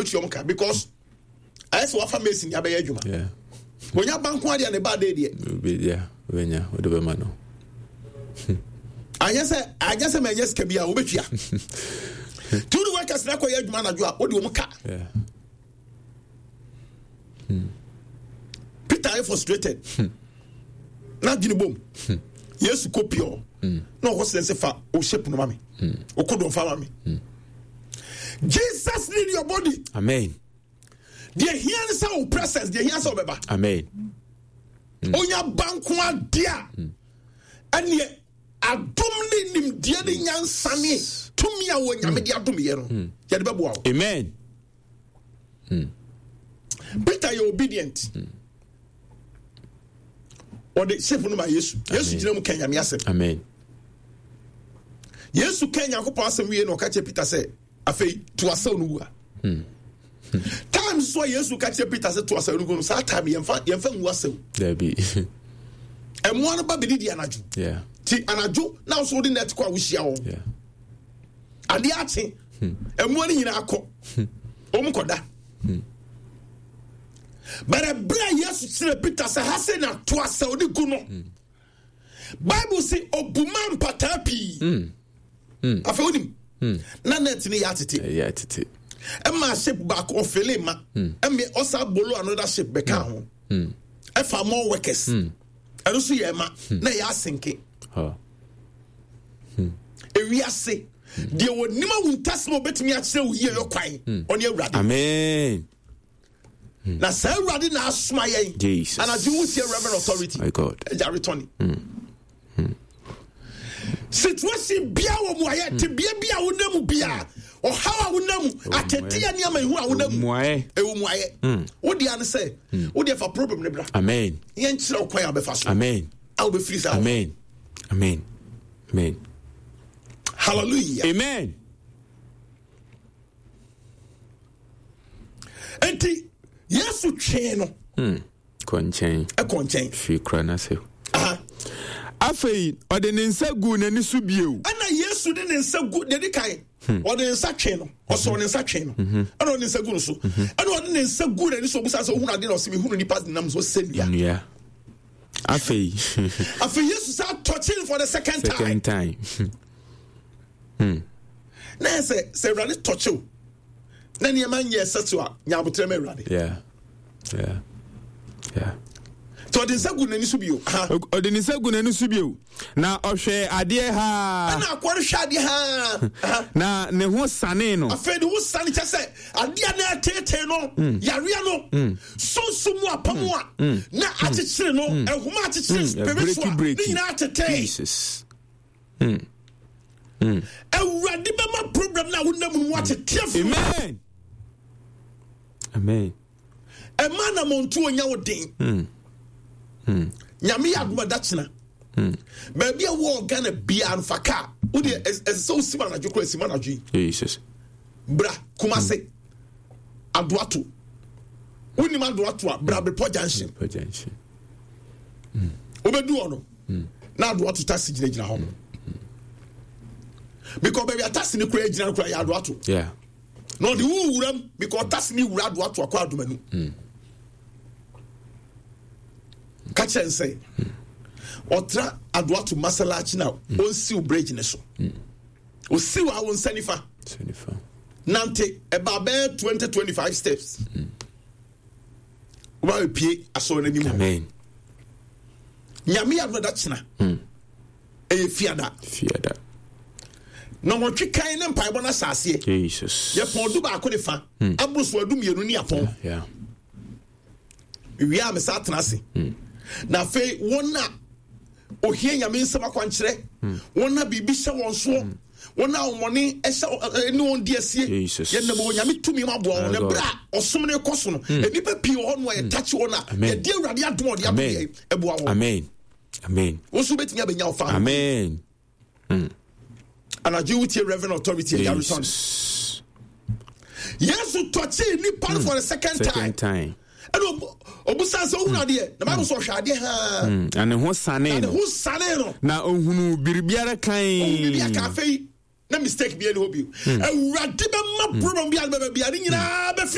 Wobɛtua ɔmo ka because ayɛ sɛ wafa mason de abɛyɛ adwuma. Onya ba nko adeɛ ne ba de deɛ. Yeah, wobɛnya wode bɛma no. Anyɛ sɛ anyɛ sɛ manyɛ sika bi a wobɛtua. Nti wode workers no akɔyɛ adwuma anadwo a wode ɔmo ka. Peter ayɛ frustrated. Na adwene bom. Yesu kɔ pure. Na ɔkɔ sɛ sɛ fa o shape no ma me. Ɔkɔ dɔn fa ma me. Jesus need your body. Amen. Deɛ hia ne sɛ wo presence, deɛ hia sɛ wobɛba. Amen. Onya ba nko adeɛ a ɛneɛ adom ne nimdeɛ ne nyansa ne tumi a wɔ Nyame de adom yɛ no yɛde bɛboa wo. Amen. Peter yɛ obedient. Ɔde shape no ma Yesu. Yesu gyina mu ka Nyame asɛm. Amen. Yesu ka Nyankopɔn asɛm wie na ɔka kyerɛ Peter sɛ afei to asɛw no wu a. Time so a Yesu ka kyerɛ Peter sɛ to asɛw no gu no, saa time yɛmfa yɛmfa ngu asɛw. Dabi. Ɛmoa no ba bɛdidi anadwo. Yeah. Ti anadwo na nso wode net kɔ a wohyia wɔn. Yeah. Adeɛ akye. Ɛmoa no nyinaa kɔ. Wɔn kɔda. But ɛberɛ a Yesu kyerɛ Peter sɛ ha sɛ na to asɛw no gu no. Bible se obuma mpataa pii. Afei wonim na net no yɛ atete. Ɛyɛ atete. Ɛma ship baako ɔfele ma. Ɛmɛ ɔsa bolo another ship bɛka ho. Ɛfa more workers. Ɛno nso yɛ ɛma na ɛyɛ asenke. Ewiase deɛ wɔnim awuntasɛm a wɔbɛtumi akyerɛ wo yie yɛ kwan ɔne Awurade. Amen. Na saa Awurade na asoma yɛn. Jesus. Anadwo wotie Reverend Authority. My God. Agya retɔne. Situation bia wɔ mu ayɛ tebea bi a wonam mu bia ɔhaw a wonam mu ateteɛ nneɛma ehu a wonam mu ɛwɔ mu ayɛ. Wo deɛ ne sɛ wo deɛ fa problem ne bra. Amen. Yɛnkyerɛ wo kwan a wobɛfa so. Amen. A wobɛfiri saa. Amen. Amen. Amen. Hallelujah. Amen. Enti Yesu twee no. Kɔ nkyɛn. Ɛkɔ nkyɛn. Firi kura n'ase. Afei ɔde ne nsa guu n'ani so bio. Ɛna Yesu de ne nsa gu deɛ di kan. Ɔde ne nsa twee no. Ɔsɔ ne nsa twee no. Ɛna ɔde ne nsa gu no so. Ɛna ɔde ne nsa gu n'ani so obusa sɛ ohun ade na ɔsɛ mehunu nipa nam so sɛ nnua. Nnua. Afei. Afei Yesu sa touching for the second time. Second time. Na yɛ sɛ sɛ Awurade tɔkyew na nneɛma nyɛ ɛsɛ so a nya abotrɛ ma Awurade. Yeah. Yeah. Yeah. Nti ɔde nsa gu n'ani so bio. Ɔde ne nsa gu n'ani so bio. Na ɔhwɛ adeɛ haa. Ɛna akoa no hwɛ adeɛ haa. Na ne ho sanee no. Afei ne ho sane kyɛ sɛ adeɛ na ɛteetee no, yareɛ no, sunsum mu apam a na akyekyere no, nhoma akyekyere spiritual, ne nyinaa tetee. Jesus. Awurade bɛma problem no a wonam mu no atete afiri. Amen. Amen. Ɛma na mɔntu onya wo den. Nyame yɛ adoma da kyena. Baabi a wɔ Ghana biara no fa kaa. Wo deɛ ɛsɛ sɛ wosim anadwo koraa sim anadwo yi. Jesus. Bra Kumase. Adoato. Wonim Adoato a bra Bepɔ Junction. Bepɔ Junction. Wobɛdu hɔ no. Na Adoato taxi gyinagyina hɔ. Because baabi a taxi no koraa gyina no koraa yɛ Adoato. Yeah. Na ɔde wo wura mu because taxi no wura Adoato akɔ Adomanu. Ka kyerɛ n sɛ ɔtra Adoato Masalachi na ɔnsiw bridge ne so. Osiw a wo nsa nifa. Nante ɛba bɛyɛ 20 25 steps. Woba bɛpie asɔre no anim hɔ. Amen. Nyame yɛ adom da kyena. Ɛyɛ fiada. Fiada. Na wɔtwe kan ne mpaebɔ no ahyɛ aseɛ. Jesus. Yɛpɔn du baako ne fa. Aboro so adu mmienu ne apɔn. Yeah. Wie a mesa atena ase. Na afei wɔn a ohia Nyame nsɛm akwankyerɛ, wɔn a biribi hyɛ wɔn soɔ, wɔn a wɔmɔne ɛhyɛ ne wɔn di asie. Yɛnam wɔ Nyame tumi mu aboa wɔn. Na berɛ a ɔsom no kɔ so no, nnipa pii wɔ hɔ no a yɛtakye wɔn a yɛde Awurade adom a ɔde adom yɛn ɛboa wɔn. Amen. Amen. Wo nso wobɛtumi abɛnya wo fa. Amen. Anadwo wotie Reverend Authority Agya Yesu tɔkyee nipa no for the second time. Second time. Ɛna obusa sɛ ohun adeɛ na Bible sɛ ɔhwɛ adeɛ haa. Na ne ho sane no. Na ne ho sane no. Na ohunu biribiara kan. Ohun biribiara kan afei na mistake bi ɛni hɔ bio. Awurade bɛma problem bi a bɛbɛ bi a ne nyinaa bɛfiri.